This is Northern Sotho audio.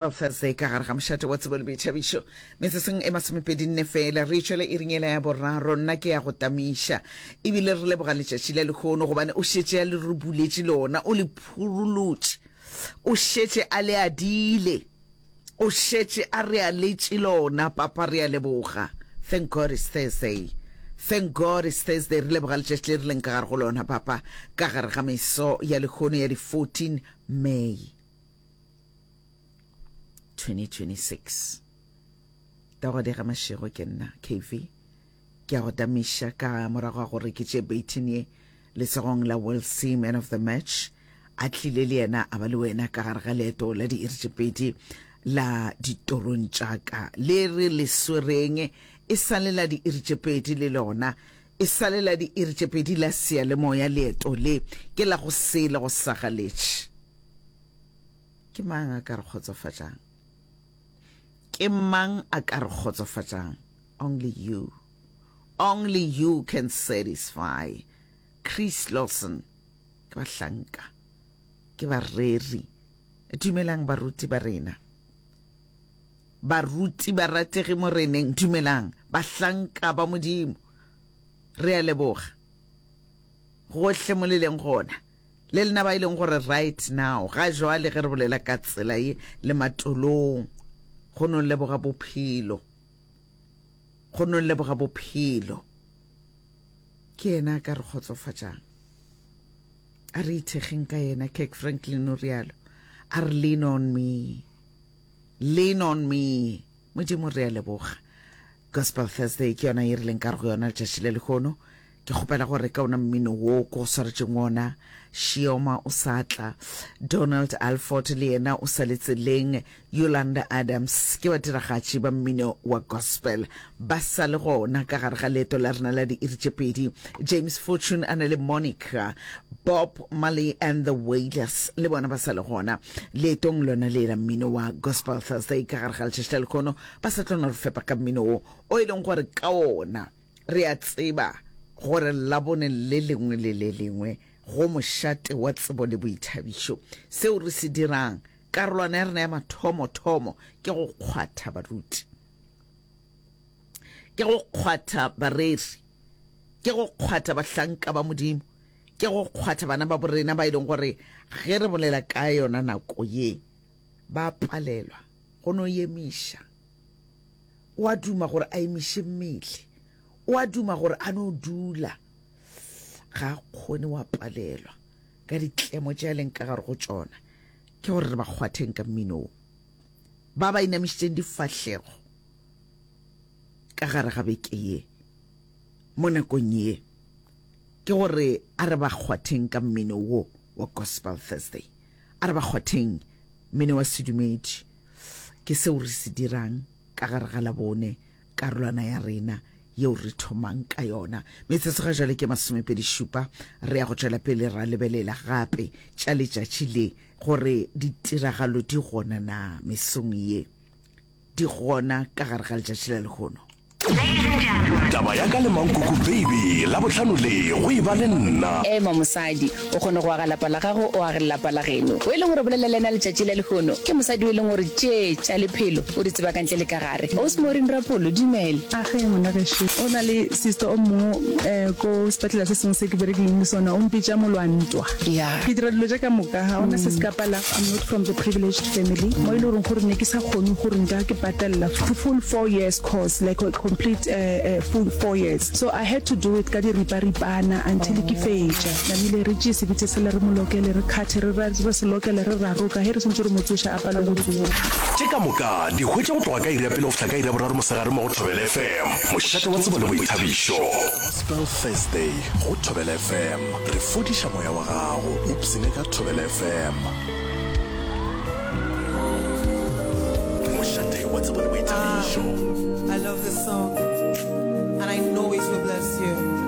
Thursday ka gare ga mošate wa tsebo le boithabišo metsotsong e masomepedinne fela re tšwele iring ela ya boraro. Nna ke ya go tamiša ebile re leboga letšatši la lehono gobane o šetše a le re buletše lona, o le phurulotše, o šetše a le adile, o šetše a re aletše lona. Papa re a leboga. Thank God it's Thursday. Thank God it's Thursday. Re leboga letšatši le re leng ka gare go lona papa, ka gare ga meso ya lehono ya di 14 May 2026. Tagodi ga Mašego ke nna KV. Ke a go tamiša ka morago ga gore ke tše baton ye letsogong la Wilsey man of the match a tlile le yena a ba le wena ka gare ga leeto la diiri tše pedi la ditorong tša ka le re le swereng e sa le la diiri tše pedi le lona e sa le la diiri tše pedi la seyalemoya leeto le ke la go sele go sagaletše Ke mang a ka re kgotsofatšang? Ke mang a ka re kgotsofatšang? Only you. Only you can satisfy. Chris Lawson. Ke bahlanka. Ke bareri. Dumelang baruti ba rena. Baruti barategi moreneng, dumelang. Bahlanka ba Modimo. Re a leboga. Gohle mo le leng gona. Le lena ba e leng gore right now, ga jwale ge re bolela ka tsela ye, le matolong, go no leboga bophelo, go no leboga bophelo. Ke yena a ka re kgotsofatšang. A re ithekgeng ka yena, Kirk Franklin o rialo. A re lean on me, lean on me. Modimo re a leboga. Gospel Thursday ke yona ye re leng ka re go yona letšatši le lehono. Ke kgopela gore ka ona mmino wo ko go swaretšeng wona, Shioma o sa tla, Donald Alford le yena o sa le tseleng, Yolanda Adams, ke badiragatši ba mmino wa gospel ba sa le gona ka gare ga leeto la rena la diiri tše pedi, James Fortune a na le Monica, Bob Marley and the Wailers le bona ba sa le gona leetong lona le la mmino wa Gospel Thursday ka gare ga letšatši la lehono, ba sa tlo no re fepa ka mmino wo o e leng gore ka wona Re a tseba gore Labone le lengwe le le lengwe go mošate wa tsebo le boithabišo, seo re se dirang, karolwana ya rena ya mathomothomo ke go kgwatha baruti, ke go kgwatha bareri, ke go kgwatha bahlanka ba Modimo, ke go kgwatha bana ba borena ba e leng gore ge re bolela ka yona nako ye ba palelwa go no emiša. O a duma gore a emiše mmele. O a duma gore a no dula. Ga a kgone, wa palelwa ka ditlemo tše a leng ka gare go tšona. Ke gore re ba kgwatheng ka mmino wo. Ba ba inamišitšeng difahlego ka gare ga beke ye, mo nakong ye, ke gore a re ba kgwatheng ka mmino wo wa Gospel Thursday. A re ba kgwatheng mmino wa sedumedi. Ke seo re se dirang ka gare ga Labone, karolwana ya rena yeo re thomang ka yona. Metsotso ga jwale ke masomepedi-šupa. Re ya go tšwela pele ra lebelela gape tša letšatši le, gore ditiragalo di gona na mesong ye. Di gona ka gare ga letšatši la lehono. Taba ya ka le Mankoko Baby Labohlano le go e ba le nna. Ema mosadi, o kgone go aga lapa la gago, o age le lapa la geno. O e leng gore o bolela le yena letšatši la lehono, ke mosadi o e leng gore tše tša lephelo o di tseba ka ntle le ka gare. Ausi Maureen Rapolo, dumela. Age ngwana gešo. O na le sister o mongwe ko sepetlela se sengwe se ke berekileng le sona, o mpitša molwantwa. Ke dira dilo tše ka moka, ga gona se se ka palago. I'm not from the privileged family mo e le goreng gore ne ke sa kgone gore nka ke patella full four years course like a complete full four years so I had to do it ka diriparipana until ke fetša. Namile re tšee sebitse sela re mo lokele re khathe re re se lokele re raroka ge re swantše re mo tsoša a palelwe go tsoga. Tše ka moka di hwetša go tloga ka iri ya pele go fihla ka iri ya boraro mosegare mo go Thobela FM, mošate wa tsebo le boithabišo. Gospel Thursday go Thobela FM. Re fodiša moya wa gago. Ipsene ka Thobela FM. Mošate wa tsebo le boithabišo. Ah, I love this song and I know it will bless you.